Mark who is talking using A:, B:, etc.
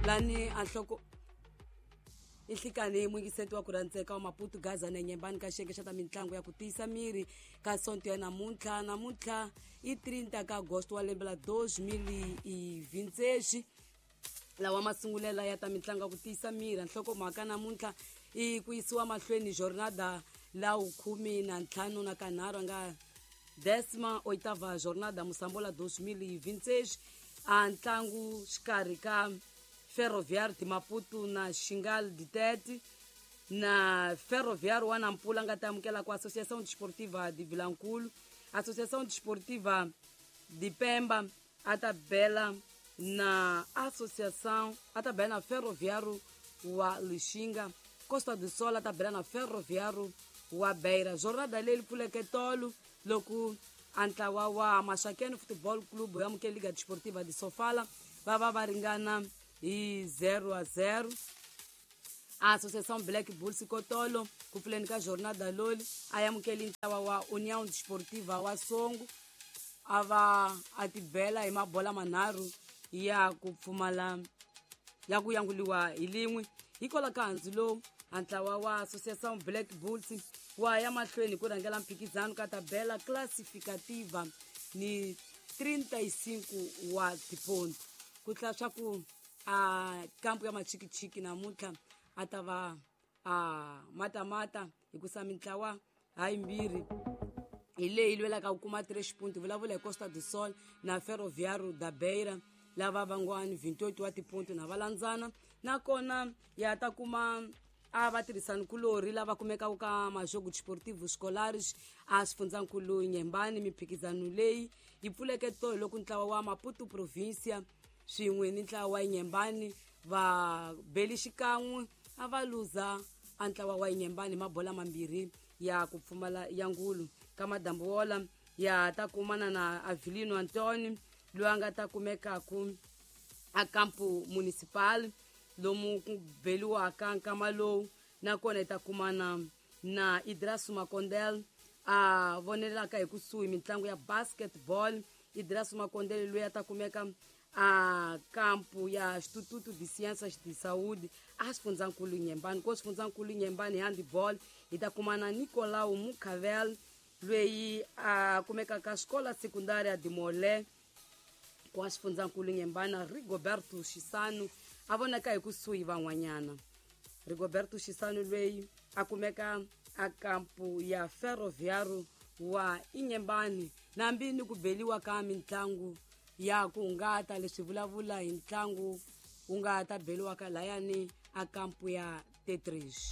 A: Lani a nhloko i nhlikani muyingiseti wa ku rhandzeka wa Maputo Gaza na Nyembani ka xiyenge xa ta mitlangu ya ku tiyisa miri ka sonto ya namuntlha. Namuntlha i 30 ka agosto wa lembe la 2026, lawa masungulela ya ta mitlangu ya ku tiyisa miri. Nhlokomhaka namuntlha i ku yisiwa mahlweni jornada la 15 na kanharhu, nga 18ª jornada Mosambola 2026, a ntlangu xikarhi ka Ferroviário de Maputo na Xingal de Tete, na Ferroviário wa Nampula nga ta amukela ku Associação Desportiva de Vilankulu. Associação Desportiva de Pemba a ta bela na associação, a ta bela na Ferroviário wa Lixinga. Costa do Sol a ta bela na Ferroviário wa Beira. Jornada leyi pfuleke tolo loko a ntlawa wa Maxakeni Football Club ya amukele Liga Desportiva de Sofala, va va va ringana hi 0-0. Associação Black Bulls kotolo ku pfuleni ka jornada loli a amukeli ntlawa wa União Desportiva wa Songo, a va a tibela hi mabola manharhu ya ku pfumala ya ku yanguliwa hi lin'we. Hikwalaho ka handzu lowu, a ntlawa wa Associação Black Bulls wa ya mahlweni ku rhangela mphikizano ka tabela classificativa ni 35 wa tiponto. Ku tlhela swa ku a kampu ya machikichiki namuntlha a ta va a matamata hikusa mintlawa hayimbirhi hi leyi lwelaka ku kuma 3 punto. Vulavula hi Costa do Sol na Ferroviário da Beira, lava vangwani 28 wa tiponto na va landzana. Nakona ya ta kuma a va tirhisani kulorhi lava kumekaka ka Majogo Desportivo Scolares a xifundzankulu Nyembani. Mimphikizano leyi yi pfuleke tolo loko ntlawa wa Maputo Provincia swin'we ni ntlawa wa Nyembani va beli xikan'we, a va luza a ntlawa wa Nyembani mabola mambirhi ya ku pfumala ya ngulu. Ka madambu wola ya ta kumana na Avelino Antoni loyi a nga ta kumekaku a campo municipal lomu ku beliwaka nkama lowu. Nakona hi ta kumana na Idrasu Makondel a vonelaka hi kusuhi mitlangu ya basketball. Idrasu Makondel loyi a ta kumeka a kampu ya Instituto de Ciências de Saúde a xifundzankulu Nyembani. Ko xifundzankulu Nyembani handball hi ta kuma na Nicolau Mukhavel loyi a kumekaka xikola secundária de Molé kwa xifundzankulu Nyembani. Rigoberto Xisanu a vonaka hi kusuhi van'wanyana. Rigoberto Xisanu loyi a kumeka a kampu ya Ferroviário wa Inyembani. Nambi ni ku beliwa ka mitlangu ya ku hungata, leswi vulavula hi ntlangu wu nga ta beliwaka layani a kampu ya Tetris.